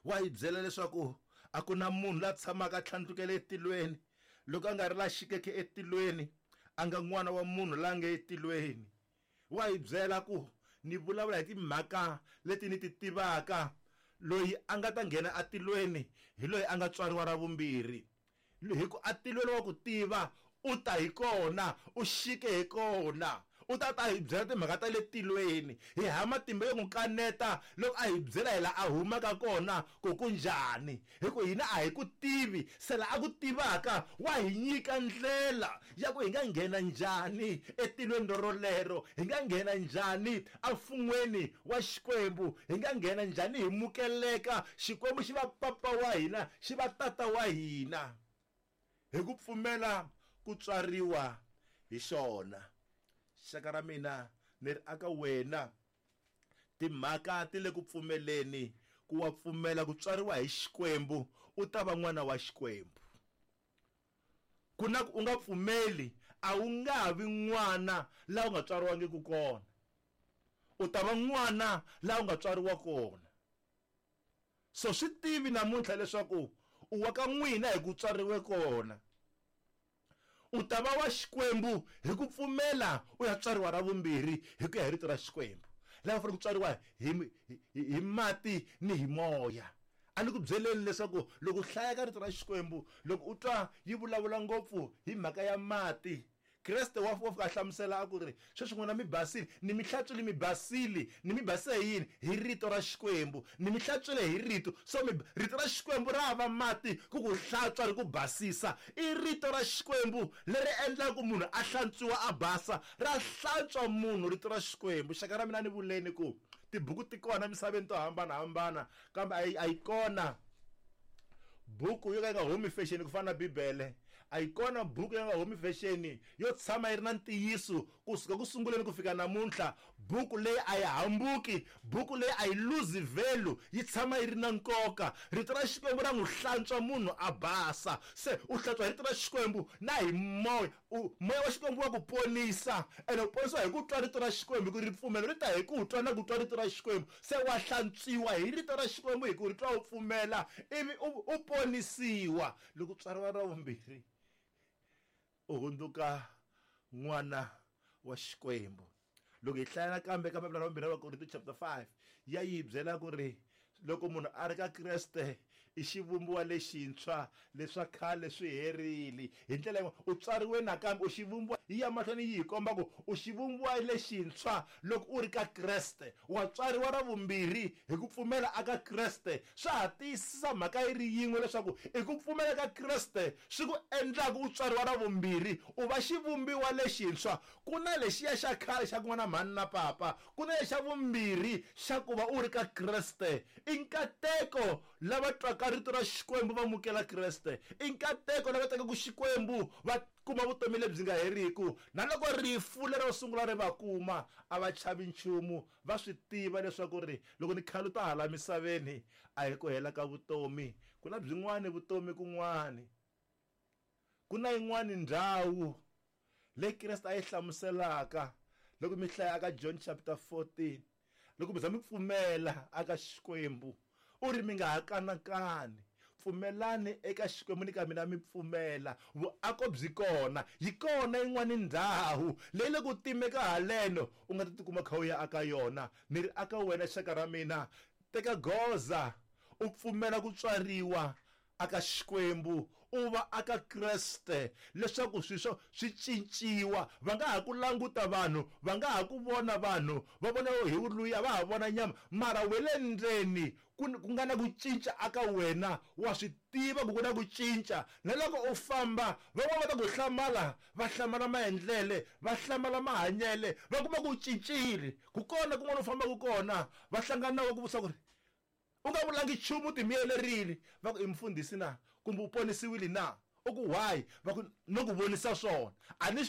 Wa hi byela leswaku a ku na munhu la tshamaka a tlhandlukele etilweni loko a nga ri la xikeke etilweni, a nga n'wana wa munhu la nge etilweni. Wa hi byela ku ni vulavula hi timhaka leti ni ti tivaka, loyi a nga ta nghena atilweni hi loyi a nga tswariwa ra vumbirhi. Hi ku atilweni wa ku tiva, u ta hi kona, u xike hi kona, u ta ta hi byela timhaka ta le tilweni. Hi ha matimba yo n'wi kaneta loko a hi byela hi laha a humaka kona ku ku njhani, hi ku hina a hi ku tivi. Se laha a ku tivaka wa hi nyika ndlela ya ku hi nga nghena njhani etilweni rorolero, hi nga nghena njhani emfun'weni wa Xikwembu, hi nga nghena njhani hi mukeleka Xikwembu xi va papa wa hina, xi va tata wa hina, hi ku pfumela ku tswariwa hi xona. Xaka ra mina ni ri aka wena, timhaka ti le ku pfumeleni ku wa pfumela ku tswariwa hi Xikwembu, u ta va n'wana wa Xikwembu. Ku na ku u nga pfumeli, a wu nga vi n'wana laha u nga tswariwangiki kona, u ta va n'wana laha u nga tswariwa kona. So swi tivi namuntlha leswaku u wa ka n'wina hi ku tswariwe kona, u ta va wa Xikwembu hi ku pfumela u ya tswariwa ra vumbirhi hi ku ya hi rito ra Xikwembu. Laha u fanele ku tswariwa hi mati ni hi moya. A ni ku byeleni leswaku loko u hlaya ka rito ra Xikwembu, loko u twa yi vulavula ngopfu hi mhaka ya mati, Kreste wa fika a hlamusela a ku ri, sweswi n'wina mi basile, ni mi hlantswile mi basile, ni mi basise hi yini? Hi rito ra Xikwembu. Ni mi hlantswile hi rito. So rito ra Xikwembu ra va mati ku ku hlantswa ri ku basisa. I rito ra Xikwembu leri endlaka ku munhu a hlantswiwa a basa, ra hlantswa munhu rito ra Xikwembu. Xaka ra mina ni vuleni ku tibuku ti kona emisaveni to hambanahambana, kambe a yi kona buku yo ka yi nga humi fashion ku fana na Bibele. A yi kona buku ya nga humi fashion yo tshama yi ri na ntiyiso kusuka ku sunguleni ku fika namuntlha. Buku leyi a yi hambuki, buku leyi a yi lose value, yi tshama yi ri na nkoka. Rito ra Xikwembu ra n'wi hlantswa munhu a basa. Se u hlantswa hi rito ra Xikwembu na hi moya. Moya wa Xikwembu wa ku ponisa, ene u ponisiwa hi ku twa rito ra Xikwembu, hi ku ripfumelo ri ta hi ku twa na ku twa rito ra Xikwembu. Se wa hlantswiwa hi rito ra Xikwembu hi ku ri twa u pfumela, ivi u ponisiwa. Loko u tswariwa ra vumbirhi, u hundzuka n'wana wa Xikwembu. Loko hi hlaya nakambe ka papila ra vumbirhi ra Vakorinto chapter 5, ya yi byela ku ri loko munhu a ri ka Kreste i xivumbiwa lexintshwa, leswa khale swi herile. Hi ndlela yin'wana, u tswariwe nakambe, u xivumbiwa. Yi ya mahlweni yi hi komba ku u xivumbiwa lexintshwa loko u ri ka Kreste. Wa tswariwa ra vumbirhi hi ku pfumela aka Kreste. Swa ha tiyisisa mhaka yi ri yin'we leswaku i ku pfumela ka Kreste swi ku endlaka u tswariwa ra vumbirhi, u va xivumbiwa lexintshwa. Ku na lexiya xa khale xa ku nga na mhani na papa, ku na lexa vumbirhi xa ku va u ri ka Kreste. I nkateko lava twaka rito ra Xikwembu va mukela Kreste. I nkateko lava tekaka Xikwembu va kuma vutomi lebyi nga heriki. Na loko rifu lero sungula ri va kuma, a va chavi nchumu. Va swi tiva leswaku ri loko ni khaluta hala misaveni, a hi ku hela ka vutomi. Ku na byin'wani vutomi kun'wani. Ku na yin'wani ndhawu leyi Kreste a yi hlamuselaka loko mi hlaya aka John chapter 14, loko mi za mi pfumela aka Xikwembu, u ri mi nga ha kanakani, pfumelani eka Xikwembu ni ka mina mi pfumela. Vuako byi kona, yi kona yin'wani ndhawu leyi le ku timeka haleno u nga ta tikuma kha u ya aka yona. Ni ri aka wena xaka ra mina, teka goza u pfumela ku tswariwa aka Xikwembu, u va aka Kreste, leswaku swiswo swi cinciwa. Va nga ha ku languta vanhu, va nga ha ku vona vanhu, va vona hi luya, va ha vona nyama, mara we le ndzeni ku nga na ku cinca aka wena, wa swi tiva ku ku na ku cinca. Na loko u famba, van'wana va ta ku hlamala, va hlamala maendlele, va hlamala mahanyele, va kuma ku cincile. Ku kona kun'wana u fambaka kona, va hlangana na wena ku vutisa ku ri u nga vulangi nchumu, u timiyelerile, va ku i mfundhisi na, kumbe u ponisiwile na? U ku why? Va ku no ku vonisa swona. A ni